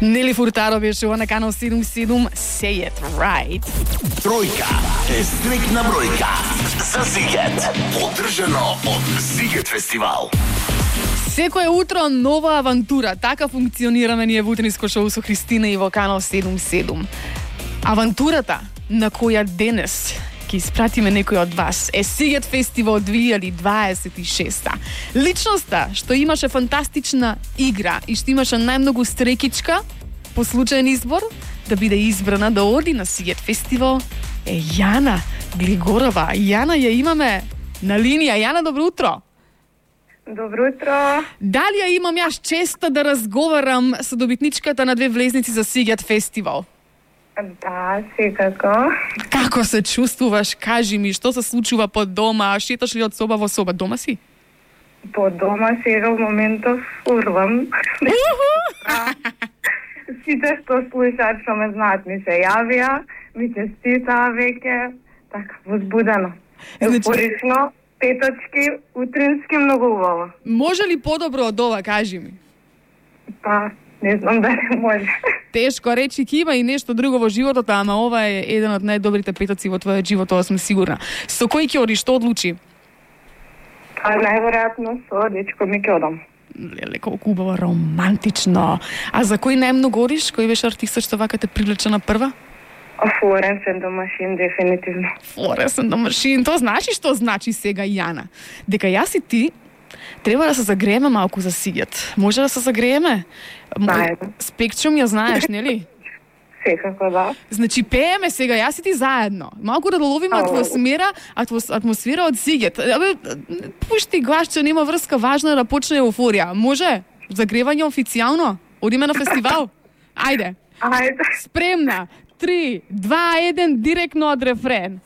Нели Фуртаро беше на канал 77 Say It Right. Тројка е стрикна бројка за Зигет. Одржано од Зигет фестивал. Секое утро нова авантура. Така функционираме ние во утринско шоу со Христина и во канал 77. Авантурата на која денес ќе испратиме некој од вас е Зигет фестивал 2026. Личноста што имаше фантастична игра и што имаше најмногу стрекичка по случаен избор да биде избрана да оди на Зигет фестивал е Јана Глигорова. Јана ја имаме на линија. Јана, добро утро. Добро утро. Дали ја имам јас честа да разговарам со добитничката на 2 влезници за Зигет фестивал? Да, секако. Како се чувствуваш? Кажи ми, што се случува по дома? Шеташ ли од соба во соба? Дома си? По дома сега во моментов урвам. Сите што слушаат, што ме знаат, ми се јавија, ми честитаа веќе, така, возбудено. Еуфорично, петочки, утрински, многу убаво. Може ли подобро од ова, кажи ми? Па, не знам дали може. Тешко речи, ќе има и нешто друго во животот, ама ова е еден од најдобрите петоци во твојот живот, тоа сум сигурна. Со кој ќе одиш, што одлучи? Па, најверојатно со дечко ми ќе одам. Леле, колку убаво, романтично. А за кој најмногу одиш? Кој беше артистот што вака те привлече на прва? Florence and the Machine, дефинитивно. Florence and the Machine, тоа значи што значи сега, Јана? Дека јас и ти треба да се загрееме малку за Зигет. Може да се загрееме? Спектрум ја знаеш, нели? Секако, да. Значи, пееме сега, јас и ти заедно. Малку да доловиме атмосфера од Зигет. Абе, пушти гласче, нема врска, важно е да почне еуфорија. Може? Загревање официјално? Одиме на фестивал? Ајде. Ајде. Спремна. 3, 2, 1, директно од рефрен.